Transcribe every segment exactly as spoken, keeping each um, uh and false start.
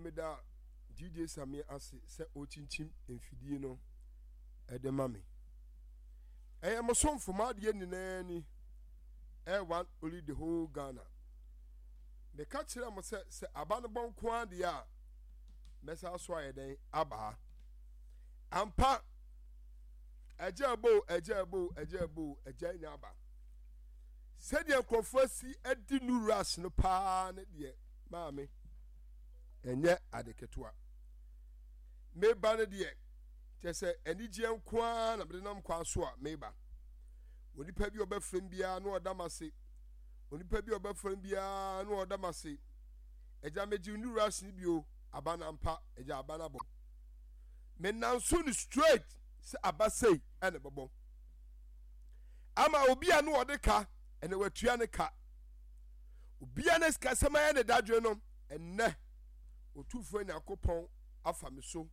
Meda D J Sammy ase sɛ ɔkyinkyim mfidie no ɛde ma me. Ɛyɛ mo somfo, mo adeɛ nyinaa ni, ɛyɛ one only, the whole Ghana. Meka kyerɛ mo sɛ sɛ aba no bɔ nko adeɛ a, mɛsa so ayɛ dɛn aba ha. Ampa, ɛgya ɛbo, ɛgya ɛbo, ɛgya ɛbo, ɛgya nya aba. Sɛdeɛ nkurɔfoɔ asi adi new rush no paa ne deɛ, maame, ɛnyɛ ade ketewa. Meba no deɛ, kyerɛ sɛ anigyeɛ nko ara na mede nam kwan so a meba. Onipa bi a ɔbɛfrɛ m biara na ɔda m ase, onipa bi a ɔbɛfrɛ m biara na ɔda m ase. Agya, megye new rush no bio. Aba no ampa, agya, aba no abɔ. Menanso no straight sɛ aba sei ɛna bɛbɔ ama obi a no ɔde ka, ɛna watua ne ka. Obi a ne sikasɛm ayɛ ne dadwene no, ɛnnɛ Otumfoɔ Nyankopɔn afa me so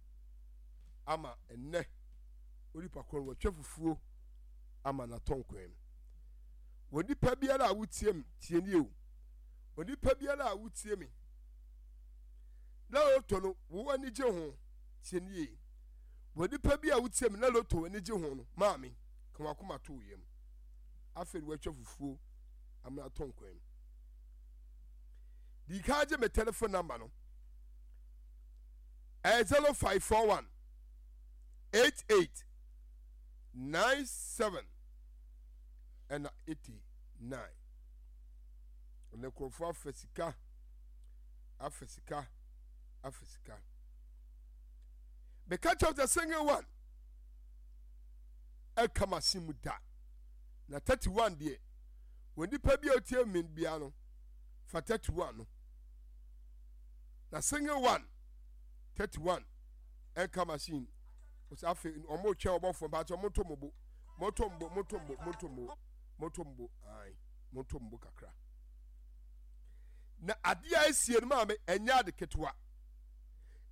ama ɛnnɛ onipa korɔ no watwa fufuo ama n'atɔ nkwan mu. Onipa biara a wotie me, tie nie o. Onipa biara a wotie me na lotto no wo ani gye ho, tie nie. Onipa bi a wotie me na lotto ani gye ho no, maame, ka wakoma to yam. Afei watwa fufuo ama n'atɔ nkwan mu. Di ka gye me telephone number no, ɛyɛ zero five four one eight eight nine seven ɛna eighty-nine. Ɛnna nkurɔfoɔ afa sika, afa sika, afa sika. Meka kyerɛw sɛ single one ɛka machine mu da na thirty-one deɛ, wɔ nipa bi a otie mi bia no, fa thirty-one no na single one, thirty-one ɛnka machine. Ɔsɛ afei ɔmo twɛn ɔbɔfoɔ mpakyɛ. Ɔmo to mo bo, mo to mo bo, mo to mo bo, mo to mo bo, mo to mo bo, ayi, mo to mo bo kakra. Na adeɛ a esie no, maame, ɛnyɛ ade ketewa.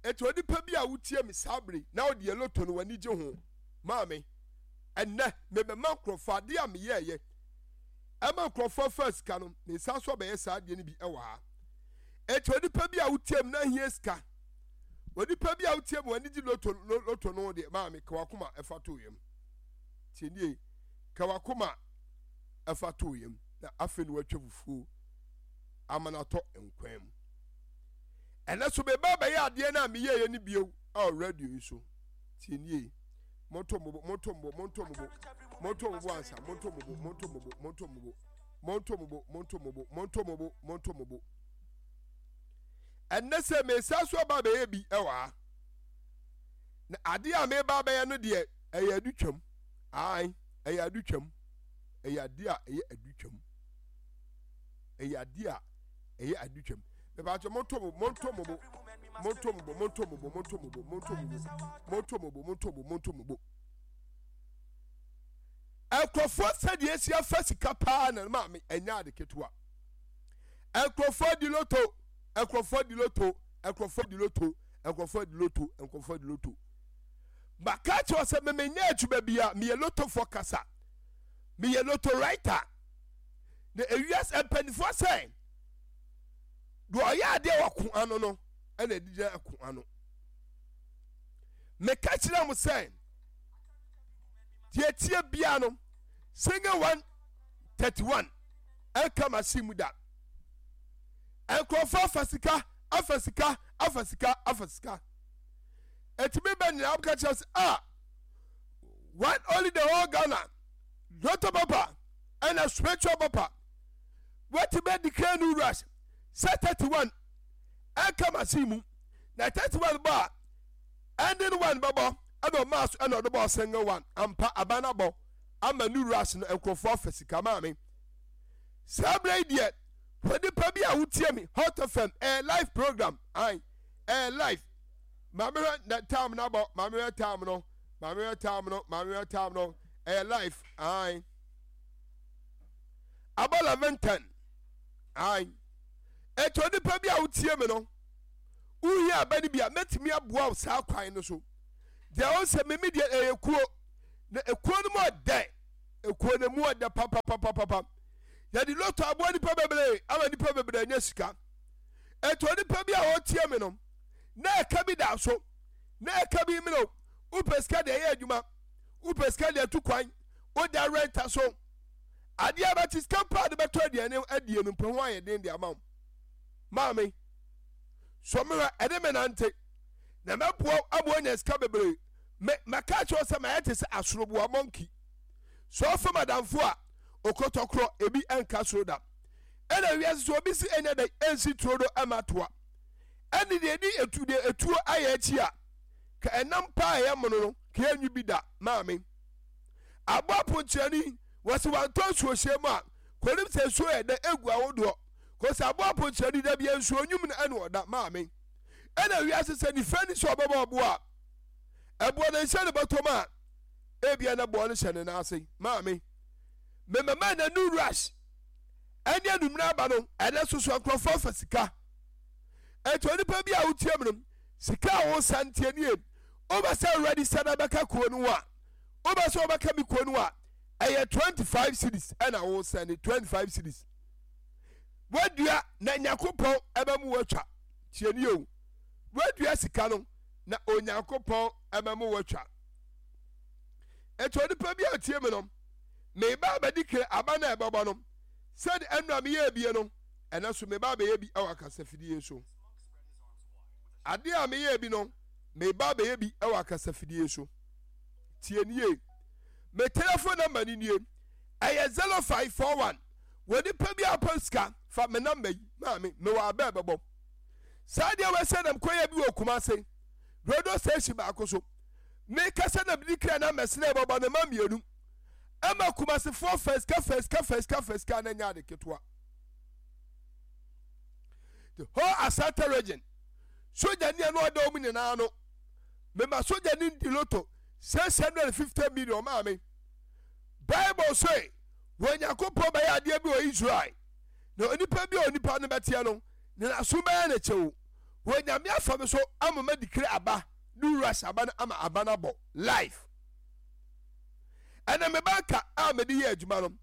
Etu onipa bi a wotie mi saa bere na ɔde yɛ lotto no w'ani gye ho, maame, ɛnɛ mebɛma nkurɔfoɔ adeɛ a meyɛɛyɛ ɛma nkurɔfoɔ afa sika no. Ne nsa so abɛyɛ saa adeɛ no bi ɛwɔ ha. Etu onipa bi a wotie mi na ahia sika, onipa bi a wotie mi w'ani gye lotto lotto no deɛ, maame, kawakoma ɛfa to yam. Tie nie, kawakoma ɛfa to yam na afei na watwa fufuo ama no atɔ nkwan mu. Ɛnɛ so bɛba bɛyɛ adeɛ no a meyɛeɛ no bio a radio yi so. Tie nie, monto mo bo, monto mo bo, monto mo bo, monto mo bo ansa. Monto mo bo, monto mo bo, monto mo bo, monto mo bo, monto mo bo, monto mo bo, monto mo bo. Ɛnɛ sɛ mesa so aba bɛyɛ bi ɛwɔ ha na adeɛ a meba bɛyɛ no deɛ, ɛyɛ adutwam. Ae, ɛyɛ adutwam, ɛyɛ adeɛ a ɛyɛ adutwam, ɛyɛ adeɛ a ɛyɛ adutwam. Mepatwa, monto mo, monto mo bo, monto mo bo, monto mo bo, monto mo bo, monto mo bo, monto mo bo, monto mo bo, monto mo bo. Nkurɔfoɔ sɛdeɛ esi afa sika paa na maame, ɛnyɛ ade ketewa. Nkurɔfoɔ di lotto, nkurɔfoɔ di lotto, nkurɔfoɔ di lotto, nkurɔfoɔ di lotto, nkurɔfoɔ di lotto. Maka kyerɛ sɛ memenyɛ adwuma bi a meyɛ lottofoɔ kasa, meyɛ lotto writer. Na ewiase mpanimfoɔ sɛ deɛ ɔyɛ adeɛ wɔ ko ano no ɛna ɛde gyina ko ano. Meka kyerɛ mo sɛ deɛ tie bia no, single one, thirty one ɛnka machine mu da. Nkurɔfoɔ afa sika, afa sika, afa sika, afa sika. Etumi bɛ nyinaa ka kyerɛ sɛ ah, one only, the whole Ghana lotto papa ɛna spiritual papa wɔtumi adi kan no rush sɛ thirty one ɛnka machine mu na thirty one bɔ a, ending one bɛbɔ. Ɛna ɔmaa so ɛna ɔde bɔ single one. Ampa, aba no abɔ ama new rush no, nkurɔfoɔ afa sika. Maame, saa berɛ yi deɛ, onipa bi a wotie me, Hot F M ɛyɛ live program. Ae, ɛyɛ live. Maame, hwɛ na time no abɔ. Maame, hwɛ time no. Maame, hwɛ time no. Maame, hwɛ time no. Ɛyɛ live. Ae, abɔ eleven ten. Ae, etu onipa bi a wotie me no, wohia aba no bi a, mɛtumi aboa wo saa kwan no so. Deɛ ɔn sɛ memi deɛ, ɛyɛ kuo na ekuo no mu ɔdɛ, ekuo no mu ɔdɛ papapapapa. Yɛde lotto aboa nipa bebree ama nipa bebree anya sika. Etu onipa bi a ɔtie me no Na ɛka bi da so, na ɛka bi mene o. Wopɛ sika deɛ ɛyɛ adwuma, wopɛ sika deɛ tu kwan, woda renta so. Adeɛ abɛkye sika mpo a de bɛtɔ aduane adie no mpo ho ayɛ den de ama wo. Maame, sɔ me hwɛ, ɛne me nante, na mɛboa wo ama woanya sika bebree. Me, mɛka akyerɛ wo sɛ mayɛ te sɛ asoroboa monkey. Sɛ ɔfam adamfo a, okɔtɔkorɔ ebi nka soro da. Ɛna wiase sɛ obi si ɛnyɛ dɛn ɛnsi turo do ɛma toa. Ɛne deɛ ɛdi etu deɛ etuo ayɛ akyi a, ka ɛnam paa ɛyɛ mono no, ka ɛnwi bi da, maame. Aboa ponkyerɛni, wɔsi wantɔ nsuo hyɛ mu a, kɔnim sɛ nsuo yɛ dɛ egu ahodoɔ. Kɔsi aboa ponkyerɛni da bia nsuo nwum no ɛna ɔda, maame. Ɛna wiase sɛ nifa ni sɛ ɔbɛbɔ ɔboa a, ɛboɔ no nhyɛ ne bɔtɔm a, ebia na boɔ no hyɛ ne nan ase, maame. Memama na new rush ɛne anumere aba no, ɛnɛ soso nkurɔfoɔ fa sika. Ɛnti onipa bi a wotie mu no, sika a wosa ntie nie. Wobɛ sɛ register na bɛka kuo no a, wobɛ sɛ wobɛka me kuo no a, ɛyɛ twenty five cedis ɛna wosa ne twenty five cedis. Wadua na Nyankopɔn ɛbɛ mu watwa. Tie nie o. Wadua sika no na Onyankopɔn ɛbɛ mu watwa. Ɛnti onipa bi a tie me no, meba abɛdi kere aba na ɛbɛbɔ no, sɛde ɛnura meyɛ ebie no, ɛnɛ so meba abɛyɛ bi ɛwɔ akasafidie so. Adeɛ a meyɛ bi no, meba abɛyɛ bi ɛwɔ akasafidie so. Tie nie. Me telephone number ni nie. Ɛyɛ zero five four one. Wɔ nipa bi a ɔpɛ sika, fa me number yi maame, mewɔ abɛ bɛbɔ. Saa deɛ wɔsɛ nam kɔyɛ bi wɔ Kumase radio station baako so. Mekasa na mede kra na mɛsene ɛbɛbɔ ne ma mmienu. Ɛma Kumasefoɔ fa sika fa sika fa sika fa sika na nyɛ ade ketewa. The whole Asante region soja ni ɛno ɔda wɔn nyinaa no, mema soja ni di loto six hundred and fifty million maame. Bible say wɔn Nyankopɔn bɛyɛ adeɛ bi wɔ Israel na onipa bi a onipa no bɛteɛ no ne n'aso bɛyɛ ne kyɛw. Wɔn Nyame afa me so ama ma dikire aba ne rush aba no ama aba no abɔ life. Ɛna me banka a mede yɛ adwuma no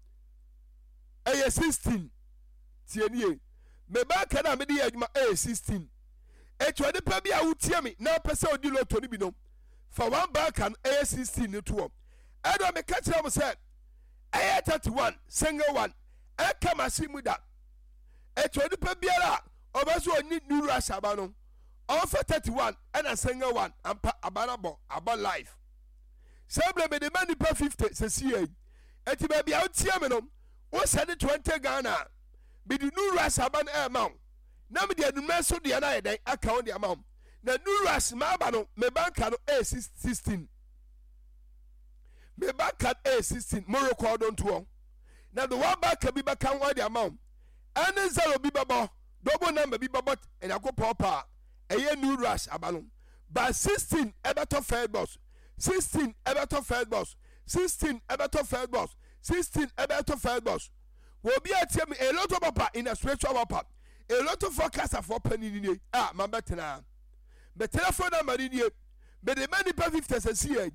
ɛyɛ sixteen. Tie nie, me banka no a mede yɛ adwuma ɛyɛ sixteen. Eti onipa bi a wotie me na apɛ sɛ odi loto no bi no, fa one banka no ɛyɛ sixteen no toɔ. Ɛna meka kyerɛ mo sɛ ɛyɛ thirty one single one ɛka machine mu da. Eti onipa biara a ɔbɛ so ɔnyi new rush aba no, ɔnfa thirty one ɛna single one ampa aba no abɔ abɔ life. Sɛ ebile mede ma nipa fifty sɛsi yɛ yi. Eti baabi a wotie me no, wosɛne twenty Ghana a, mede new rush aba no ɛɛma wo. Na mede anummerɛ nso deɛ no ayɛ dɛn aka wo de ama wo. Na new rush maaba no, me banka no ɛyɛ sixteen. Me banka no ɛyɛ sixteen, mo rekɔɔdo ntoɔ. Na de one banka bi bɛka ho de ama wo. Ɛne zero bi bɛbɔ, double number bi bɛbɔ Nyankopɔn paa. Ɛyɛ new rush aba no. But sixteen ɛbɛtɔ first box, sixteen ɛbɛtɔ first box, sixteen ɛbɛtɔ first box, sixteen ɛbɛtɔ first box. Obi a tie me, a lot of papa in a spiritual papa, a lot of forecaster for penny ni a ma bɛtena. Me telephone number ni nie. Me de ma nipa fifty sɛ si yɛ.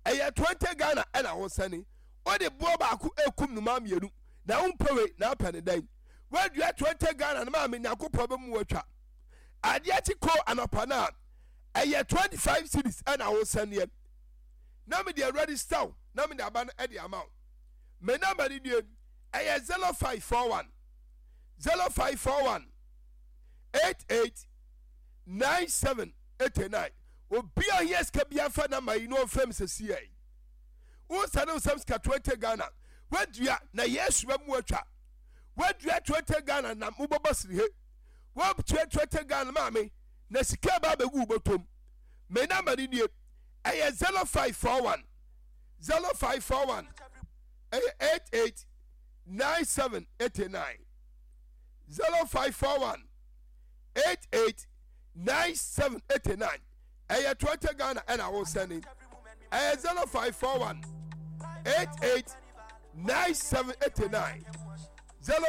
Ɛyɛ twenty Ghana ɛna ho sɛne. O de boɔ baako ekum no ma mmienu. Na wo mpɛ wei na apɛ ne dɛn. Wadua twenty Ghana no ma me Nyankopɔn bɛ mu atwa. Adeɛ kye ko anɔpa no a ɛyɛ twenty five cedis ɛna wo sɛneɛ. Na me de register wo na me de aba no ɛde ama wo. Me number ni nie, ɛyɛ zero five four one zero five four one eight eight nine seven eight nine. Obi a ohia sika bi afa number yi na ɔmfrɛ me sɛsi yɛ. Wo sɛne wo sɛm sika twenty Ghana. Wadua na Yesu bɛ mu atwa. Wadua twenty Ghana na mobɔbɔ sirihe. Wadua twenty Ghana maame na sika ba abɛgu wo bɔtɔm. Me number ni nie, ɛyɛ zero five four one zero five four one ɛyɛ eight eight nine seven eight nine zero five four one eight eight nine seven eight nine ɛyɛ twenty Ghana ɛna wosɛne. Ɛyɛ zero five four one eight eight nine seven eight nine